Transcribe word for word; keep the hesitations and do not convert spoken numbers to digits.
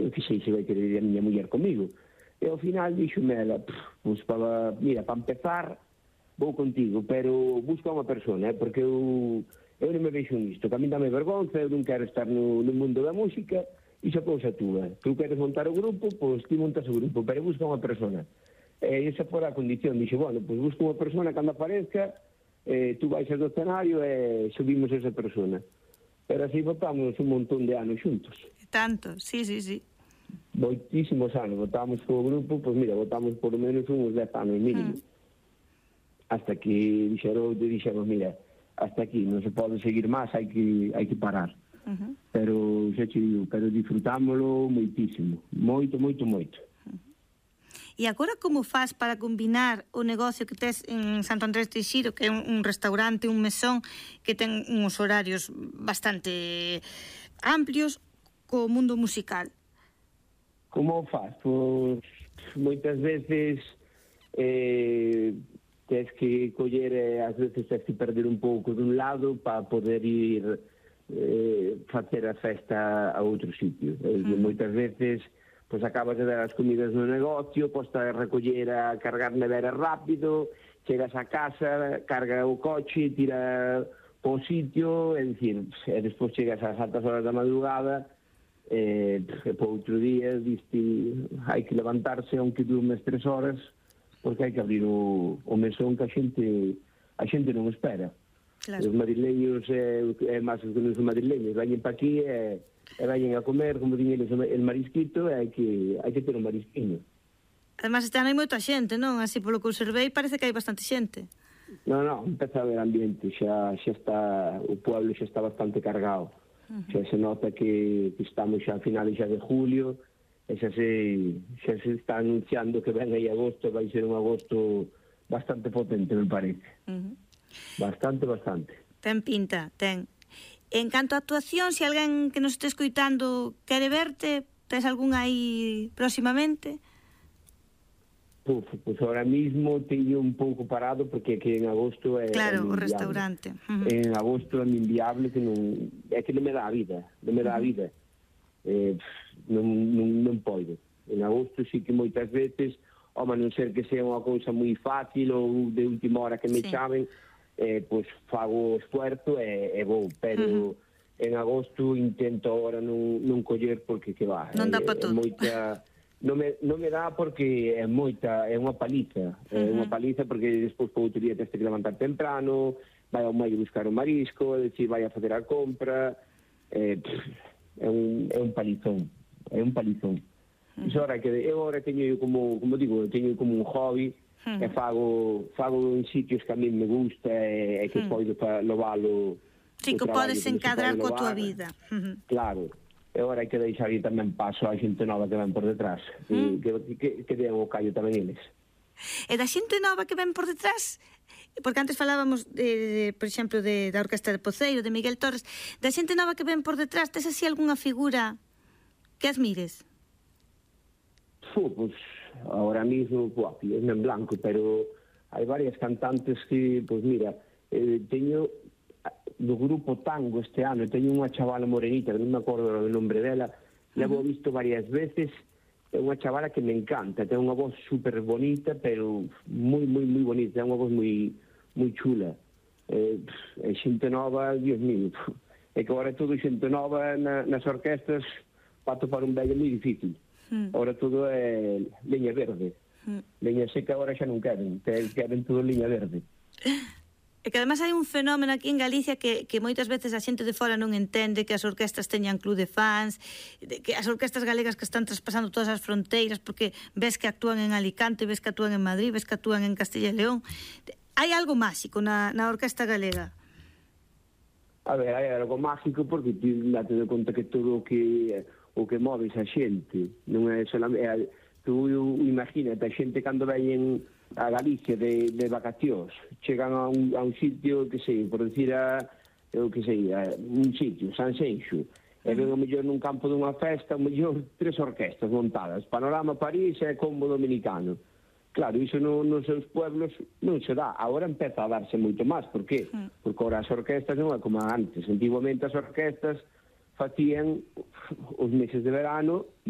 eu que sei se vai querer ir a miña muller comigo. E ao final dixome ela, pues, para, mira, para empezar, vou contigo, pero busca unha persona, eh, porque eu, eu non me vexo nisto, que a mí dame vergonza, eu non quero estar no, no mundo da música, e xa cousa túa. Tu queres montar o grupo, pois ti montas o grupo, pero busca unha persona. E esa fora a condición, dixe, bueno, pois busca unha persona cando aparezca, eh, tú vais do escenario e subimos esa persona. Pero así votamos un montón de anos xuntos. Tanto, sí, sí, sí. Moitísimos anos, votamos co grupo, pois mira, votamos por lo menos uns dez anos mínimo. Mm. Hasta que dixeron, dixeron, mira, hasta aquí, non se pode seguir máis, hai que, hai que parar. Uh-huh. Pero, xa te digo, pero disfrutámoslo moitísimo, moito, moito, moito. Uh-huh. E agora como faz para combinar o negocio que tes en Santo Andrés de Xiro, que é un, un restaurante, un mesón, que ten uns horarios bastante amplios, co mundo musical? Como faz? Pois moitas veces eh, tens que coller, eh, ás veces tens que perder un pouco dun lado para poder ir eh, facer a festa a outro sitio. Eh, mm. Moitas veces pois acabas de dar as comidas no negocio, posta a recoller a cargar nevera rápido, chegas a casa, carga o coche, tira po sitio, é dicir, e despois chegas ás altas horas da madrugada, e, e po outro día diste, hai que levantarse aunque durmes tres horas, porque hai que abrir o, o mesón que a xente a xente non espera. Claro. Os madrileños, é, é máis que os madrileños, veñen pa aquí e, e veñen a comer, como din eles, el marisquito, e hai que, hai que ter un marisquiño. Además, este ano hai moita xente, non? Así polo que observei, parece que hai bastante xente. Non, non, empeza a haber ambiente, xa, xa está, o pueblo xa está bastante cargado. Uh-huh. Xa se nota que, que estamos xa a finales xa de julio, e xa se, xa se está anunciando que ven aí agosto, vai ser un agosto bastante potente, me parece. Uh-huh. Bastante, bastante. Ten pinta, ten. En canto a actuación, se alguén que nos este escoitando quere verte, tes algún aí próximamente? Puf, pues ahora mismo teño un pouco parado porque que en agosto é claro, é o restaurante. Uh-huh. En agosto é inviable, que non é que non me dá a vida, non me dá a vida. Eh, non, non, non podo. En agosto sí que moitas veces, home, non ser que sea unha cousa moi fácil ou de última hora que me sí. chamen, eh, pois fago o esfuerzo e, e vou, pero uh-huh. en agosto intento agora non, non coller porque que va. Non dá eh, para todo. Moita... Non me, non me dá porque é moita, é unha paliza, uh-huh. é unha paliza porque despois po outro día tens que levantar temprano, vai ao maio buscar o marisco, decir, vai a fazer a compra, eh, pff, é, un, é un palizón, é un palizón. Uh-huh. Iso ahora que eu agora teño como, como digo, teño como un hobby, uh-huh. e fago, fago en sitios que a mí me gusta e, e que uh-huh. podo lovalo. Sí, que podes encadrar coa tua vida. Uh-huh. Claro. E agora hai que deixar aí tamén paso a xente nova que ven por detrás, mm. que, que, que den o callo tamén eles. E da xente nova que ven por detrás, porque antes falábamos, de, de, por exemplo, de, da Orquesta de Poceiro, de Miguel Torres, da xente nova que ven por detrás, tes así algunha figura que admires? Fu, pues, ahora mismo, pues, en blanco, pero hai varias cantantes que, pues mira, eh, teño... do grupo Tango este ano, teño unha chavala morenita, que non me acordo do nombre dela, la vou visto varias veces, é unha chavala que me encanta, ten unha voz super bonita, pero moi, moi, moi bonita, é unha voz moi, moi chula. É eh, xente nova, Dios mío, é que agora todo xente nova na, nas orquestas para topar un vello moi difícil. Mm. Agora todo é leña verde. Mm. Leña seca agora xa non queren, queren todo leña verde. E que además hai un fenómeno aquí en Galicia que, que moitas veces a xente de fora non entende, que as orquestas teñan club de fans, que as orquestas galegas que están traspasando todas as fronteiras, porque ves que actúan en Alicante, ves que actúan en Madrid, ves que actúan en Castilla e León. Hai algo máxico na, na orquesta galega? A ver, hai algo máxico porque ti date de conta que todo o que o que moves a xente non é solamente... Tú imagínate, a xente cando veñen a Galicia de, de vacacións, chegan a un, a un sitio, que sei, por decir a, eu que sei, a un sitio, San Xenxo, e ven o mellor nun campo dunha festa, o mellor tres orquestas montadas, Panorama París e Combo Dominicano. Claro, iso no, nos seus pueblos non se dá, agora empeza a darse moito máis, por qué? Porque agora as orquestas non é como antes, antiguamente as orquestas facían os meses de verano e